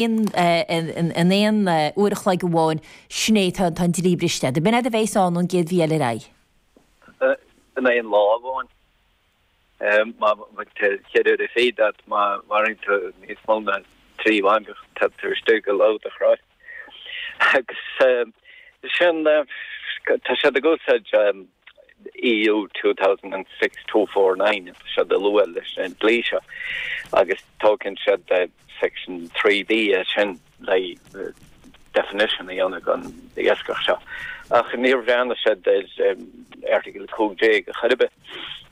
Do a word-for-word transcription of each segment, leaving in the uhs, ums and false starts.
in aon uair a chloig amháin, sin é, tá an dlí briste. Ab in é a bheas ann ón gcéad mhí eile ar aghaidh? In aon lá amháin. Má tá ceithre uaire fichead agat, má mharaíonn tú níos mó ná trí mhangach, tá tú istigh go ló do chroí. Agus sin, tá siad ag úsáid EU two thousand and six two four nine, tá siad ag lua leis an dlí seo agus tógann siad section three B as sin le definition a dhéanamh den iascach seo. Ach níor bhreathnaigh siad ar Airteagal cúig déag a chor ar bith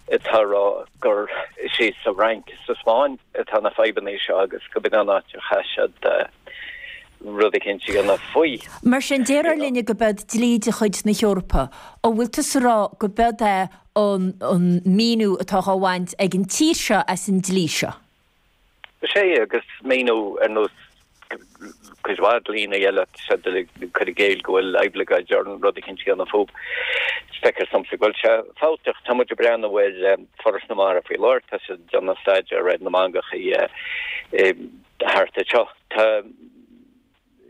atá ag rá gur is é sa Fhrainc is sa Spáinn atá na fadhbanna seo agus go b'in an áit a chaith siad rud eicínt a dhéanamh faoi. Mar sin, déarfar linne go b'eod dlí de chuid na hEorpa. An bhfuil tusa ag rá go b'eod é an míniú atá á bhaint ag an tír seo as an dlí seo? Is é, agus míniú ar nós cuid mhaith dlíonna eile, tá siad ag cur i gcéill go bhfuil oibleagáid orainn rud eicínt a dhéanamh fúthu. Feictear domsa go bhfuil sé fabhtach. Tá muid ag breathnú ar Foras na Mara faoi láthair, tá siad ag déanamh staidéar ar na mangachaí thart anseo. Tá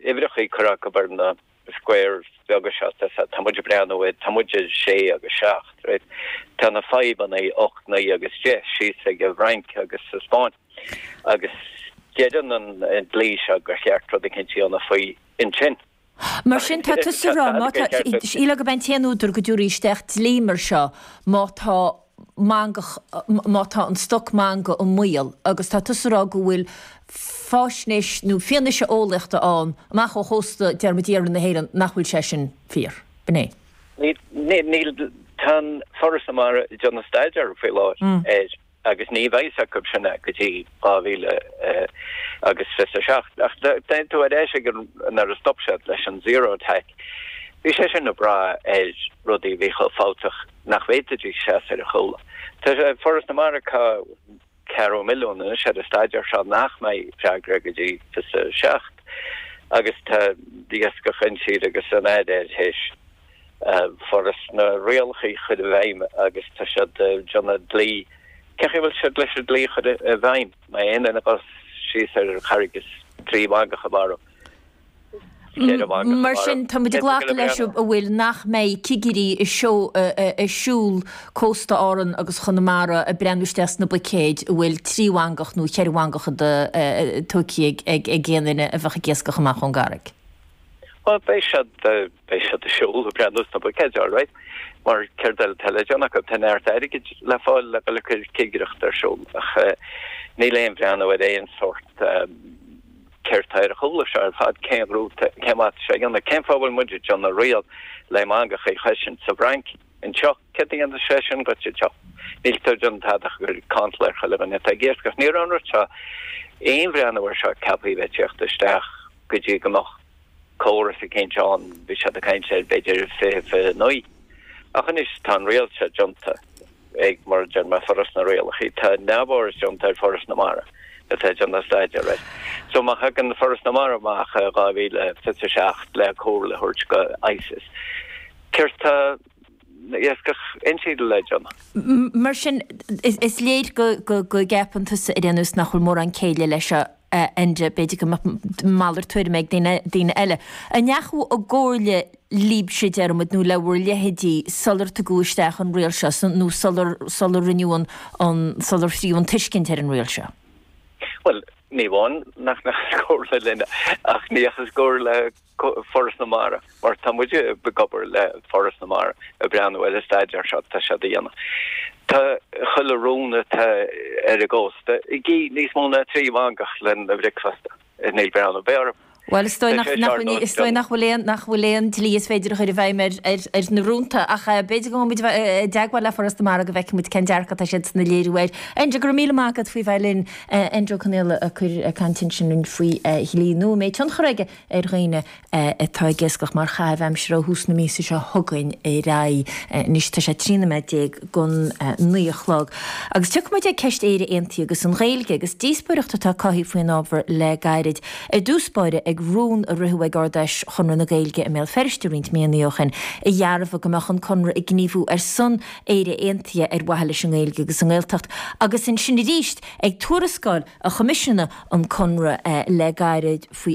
uimhreacha curtha acu ar na squares beaga seo, tá muid ag breathnú ar, tá muid ar sé agus seacht, right? Tá na fadhbanna ocht, naoi agus deich síos ag an bhFrainc agus sa Spáinn agus deireann an dlí seo gur cheart rud eicínt a dhéanamh faoi ansin. Mar sin, tá tusa ag rá, má tá, shílfeá gurb é an t-aon údar go dtabharfaí isteach dlí mar seo má tá mangach, má tá an stoc manga i mbaol agus tá tusa ag rá go bhfuil faisnéis nó fianaise eolaíochta ann amach ó chósta, deir muid, iarthar na hÉireann nach bhfuil sé sin fíor. B'in é. Níl, níl, tá an Foras na Mara ag déanamh staidéar faoi láthair air agus ní bheidh a fhios acu sin go dtí dhá mhíle agus fiche a seacht. Ach téann tú ar ais ag an, nuair a stop siad leis an zero TAC, bhí sé sin ag brath ar rudaí a bhí chomh fabhtach nach bhféadfaidís seasamh ar a chúla. Tá Foras na Mara ag caitheamh ceathrú milliún anois ar an staidéar seo nach mbeidh freagra go dtí fiche a seacht agus tá Iascach Intíre agus an Aire tar éis Foras na rialacha a chur i bhfeidhm agus tá siad ag déanamh dlí. Cén chaoi a bhfuil siad leis an dlí a chur i bhfeidhm? Má aon duine a dhul síos ar an charraig is trí mhangach a mharú, ceithre mhangach a Mar mharú. sin, tá muid ag glacadh leis an bhfuil nach mbeidh cigirí ag siúl cósta Árann agus Chonamara ag breathnú isteach sna buicéid a bhfuil trí mhangach nó ceithre mhangach tógtha ag aon duine a bheadh ag iascach amach ón gcarraig. Bhuel, beidh siad, beidh siad ag siúl ag breathnú sna buicéid, all right, mar céard eile atá le déanamh acu? Tá neart airgid le fáil le dul ag cur cigireacht ar siúl ach níl aon bhreathnú ar aon sórt céard tá ar a chúla seo ar fad, cén rúta, cén mhaith atá sé a dhéanamh, cén fáth a bhfuil muid ag déanamh riail le mangacha a chosaint sa bhFrainc anseo, céard a dhéanfas sé sin dhuit anseo? Níl tú ag déanamh tada ach ag cur cantal ar chuile dhuine atá ag iascach. Ní raibh an rud seo, aon bhreathnú air seo ceaptha a bheith ag tíocht isteach go dtí go mbeadh córas eicínt ann, bhí siad ag caint ar b'fhéidir fiche fiche naoi. Ach anois tá an riail seo déanta ag, mar a deir mé, Foras na Rialacha. Tá neamhaird déanta ar Foras na Mara atá ag déanamh staidéir air. So má thagann Foras na Mara amach i dhá mhíle fiche a seacht le comhairle a thabhairt go ICES, céard tá Iascach Intíre le déanamh? Mar sin, is léir go gceapann tusa ar aon nós nach bhfuil mórán céille leis seo, a Enda, b'fhéidir go mbeadh malairt tuairime ag daoine eile. An ndeachaigh i gcomhairle libhse, déarfaimid, nó le bhur leithéidí sular tugadh isteach an riail seo nó sular sular rinneadh an an sular thríú an tuiscint ar an riail seo? Bhuel, ní amháin nach ndeachthas i gcomhairle linne ach ní dheachthas i gcomhairle le Foras na Mara, mar tá muid ag obair le Foras na Mara ag breathnú ar an staidéar seo atá siad a dhéanamh. Tá chuile rún atá ar an gcósta ag ithe níos mó ná trí mhangach lena bhricfeasta. Níl breathnú ar bith orthu. Bhuel, is dóigh nach is dóigh nach bhfuil aon nach bhfuil aon dlí is féidir a chur i bhfeidhm ar ar ar na rúnta ach b'fhéidir go mbeidh muid i dteagmháil le Foras na Mara go bhfeicfidh muid cén dearcadh atá siadsan a léiriú air. Enda, go raibh míle maith agat faoi bheith linn. Enda Ó Conaola ag cur ag caint ansin faoi dhlí nua a mbeidh tionchar aige ar dhaoine atá ag iascach mar chaitheamh aimsire ó thús na míosa seo chugainn ar aghaidh. Anois tá sé trí nóiméad déag don naoi a chlog. Agus tiocfaidh muid ag ceist Éire Aontaithe agus an Ghaeilge agus díospóireacht atá cothaithe faoin ábhar le gairid. Ar dtús báire ag ag rún a ritheadh ag Ard-Fheis Chonradh na Gaeilge i mBéal Feirste roinnt míonna ó shin, a dhearbhaigh go mbeadh an Conradh ag gníomhú ar son Éire Aontaithe ar mhaithe leis an nGaeilge agus an Ghaeltacht. Agus ansin arís ag tuarascáil a choimisiúnaigh an Conradh le gairid faoi